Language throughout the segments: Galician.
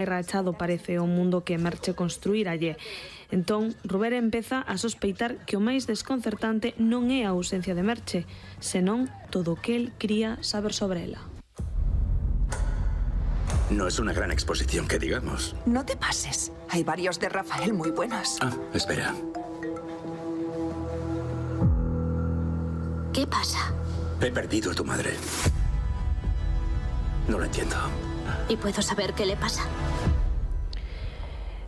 rachado parece o mundo que Merche construíralle. Entón, Ruber empeza a sospeitar que o máis desconcertante non é a ausencia de Merche, senón todo o que el quería saber sobre ela. No es una gran exposición, que digamos. No te pases. Hay varios de Rafael muy buenos. Ah, espera. ¿Qué pasa? He perdido a tu madre. No lo entiendo. ¿Y puedo saber qué le pasa?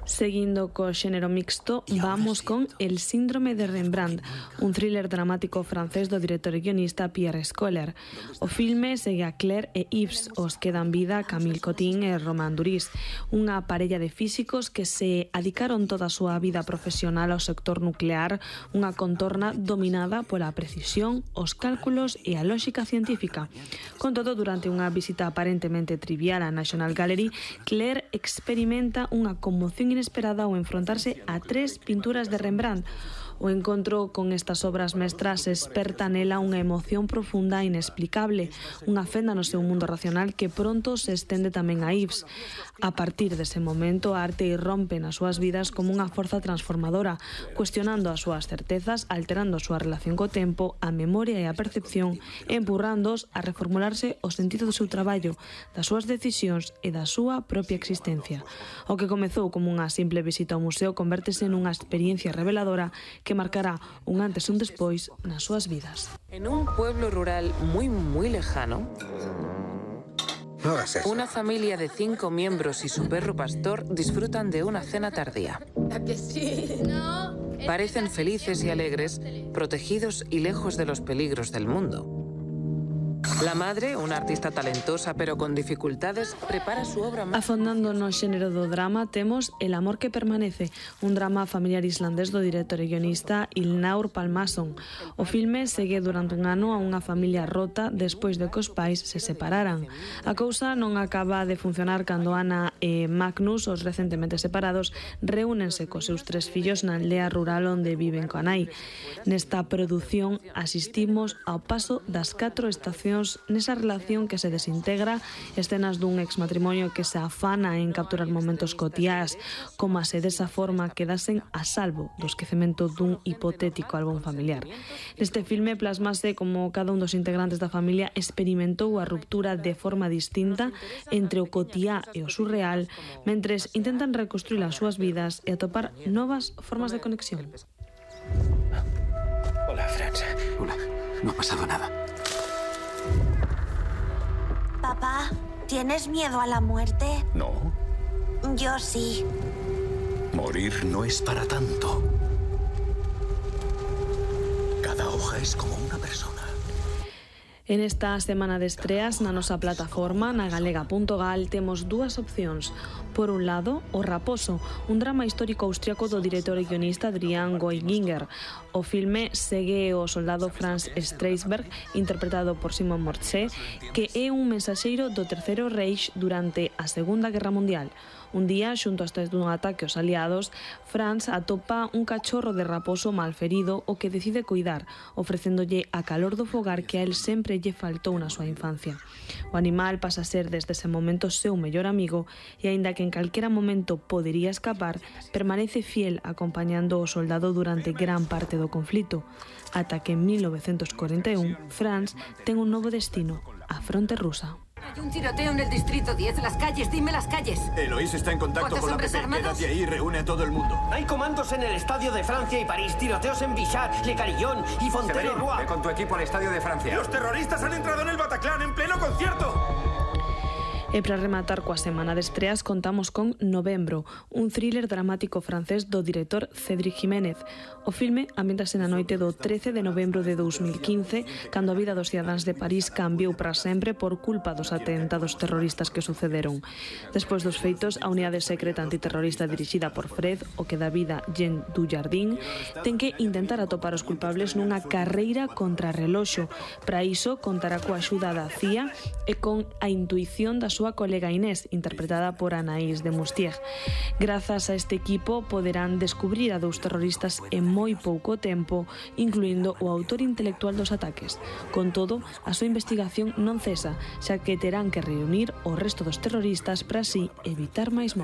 Seguindo co xénero mixto, vamos con El síndrome de Rembrandt, un thriller dramático francés do director e guionista Pierre Scholler. O filme segue a Claire e Yves, os que dan vida Camille Cotin e Romain Duris, unha parella de físicos que se adicaron toda a súa vida profesional ao sector nuclear, unha contorna dominada pola precisión, os cálculos e a lógica científica. Con todo, durante unha visita aparentemente trivial á National Gallery, Claire experimenta unha conmoción inesperada ao enfrontarse a 3 pinturas de Rembrandt. O encontro con estas obras mestras esperta nela unha emoción profunda e inexplicable, unha fenda no seu mundo racional que pronto se estende tamén a Yves. A partir dese momento, a arte irrompe nas súas vidas como unha forza transformadora, cuestionando as súas certezas, alterando a súa relación co tempo, a memoria e a percepción, e empurrándoos a reformularse o sentido do seu traballo, das súas decisións e da súa propia existencia. O que comezou como unha simple visita ao museo convértese nunha experiencia reveladora que marcará un antes e un despois nas súas vidas. En un pueblo rural muy lejano, no hagas eso. Una familia de 5 miembros y su perro pastor disfrutan de una cena tardía. Parecen felices y alegres, protegidos y lejos de los peligros del mundo. La madre, una artista talentosa pero con dificultades, prepara su obra más... Afondando no xénero do drama, temos El amor que permanece, un drama familiar islandés do director e guionista Ilnur Pálmason. O filme segue durante un ano a unha familia rota despois de que os pais se separaran. A cousa non acaba de funcionar cando Ana e Magnus, os recentemente separados, reúnense cos seus 3 fillos na aldea rural onde viven coa nai. Nesta produción asistimos ao paso das 4 estacións nesa relación que se desintegra, escenas dun exmatrimonio que se afana en capturar momentos cotiás, como se desa forma quedasen a salvo do esquecemento dun hipotético álbum familiar. Neste filme plasmase como cada un dos integrantes da familia experimentou a ruptura de forma distinta entre o cotiá e o surreal, mentres intentan reconstruir as súas vidas e atopar novas formas de conexión. Hola, Franz. Hola, no ha pasado nada. Papá, ¿tienes miedo a la muerte? No, Yo sí. morir no es para tanto. Cada hoja es como una persona. En esta semana de estreas na nosa plataforma, na galega.gal, temos 2 opcións. Por un lado, O Raposo, un drama histórico austriaco do director e guionista Adrian Goiginger. O filme segue o soldado Franz Streisberg, interpretado por Simon Morse, que é un mensaxeiro do Terceiro Reich durante a Segunda Guerra Mundial. Un día, xunto a dun ataque aos aliados, Franz atopa un cachorro de raposo malferido o que decide cuidar, ofrecéndolle a calor do fogar que a él sempre lle faltou na súa infancia. O animal pasa a ser desde ese momento seu mellor amigo e, aínda que en calquera momento podería escapar, permanece fiel acompañando o soldado durante gran parte do conflito, ata que en 1941 Franz ten un novo destino, a fronte rusa. Hay un tiroteo en el distrito 10. Las calles, dime las calles. Eloís está en contacto con la ¿Cuántos PP. hombres armados? Quédate ahí y reúne a todo el mundo. Hay comandos en el estadio de Francia y París, tiroteos en Bichard, Le Carillon y Fontaine-le-Roi. Ve con tu equipo al estadio de Francia. ¡Los terroristas han entrado en el Bataclan en pleno concierto! E para rematar coa semana de estreas contamos con Novembro, un thriller dramático francés do director Cédric Jiménez. O filme ambientase na noite do 13 de novembro de 2015, cando a vida dos cidadáns de París cambiou para sempre por culpa dos atentados terroristas que sucederon. Despois dos feitos, a unidade secreta antiterrorista dirixida por Fred, o que dá vida Jean Dujardin, ten que intentar atopar os culpables nunha carreira contra reloxo. Para iso, contará coa axuda da CIA e con a intuición das súa colega Inés, interpretada por Anaïs de Moustier. Grazas a este equipo poderán descubrir a 2 terroristas en moi pouco tempo, incluindo o autor intelectual dos ataques. Con todo, a súa investigación non cesa, xa que terán que reunir o resto dos terroristas para así evitar máis mortes.